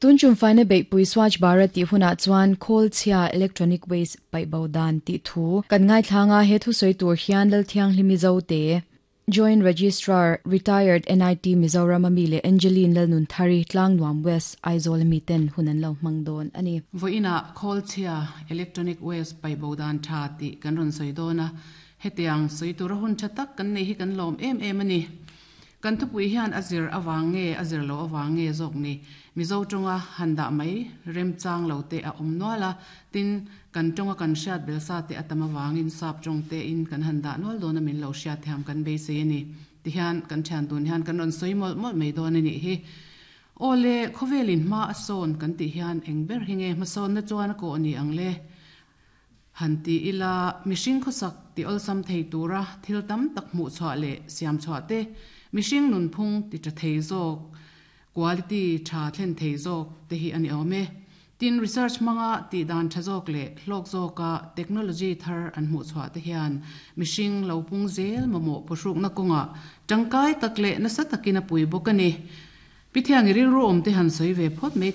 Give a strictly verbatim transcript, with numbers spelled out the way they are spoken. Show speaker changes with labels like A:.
A: Tun chum faina beihpui Swachh Bharat tih hunah chuan khawl chhia electronic waste paih bo dan tih thu kan ngaithlang a, he thusawi tur hian Lalthianghlimi Zote, Joint Registrar, Retired NIT Mizoram ami leh Angeline Lalnunthari, Tlangnuam West, Aizawl ami ten hun an lo hmang dawn a ni.
B: Vawiinah khawl chhia electronic waste paih bo dan tha tih kan rawn sawi dawn a, hetiang sawi tura hun tha tak kan nei hi kan lawm em em a ni. Kan thupui hian a zir avang nge a zir loh avang nge zawk ni, Mizo tawnga han dah mai remchang lo te a awm nual a, tin, kan tawnga kan hriat bel sa te a tam avangin sap tawng tein kan han dah nual dawn a min lo hriat thiam kan beisei a ni. Tihian kan thian tun hian kan rawn sawi mawlh mawlh mai dawn a nih hi. Aw le, khawvelin hma a sawn kan tih hian eng ber hi nge hmasawnna chuan a kawh ni ang le? Han ti ila, mihring khawsak ti awlsam thei tura thil tam tak hmuh chhuah leh siam chhuah te, mihring nunphung ti tha thei zawk, quality tha thlen thei zawk te hi a ni awm e. Tin, research hmanga tih dan tha zawk leh hlawk zawka technology thar an hmuh chhuah te hian mihring lo pung zel mamawh phuhrukna kawngah tangkai tak leh nasa takin a pui bawk a ni. Pi Thiangi rilru awm te han sawi ve phawt mai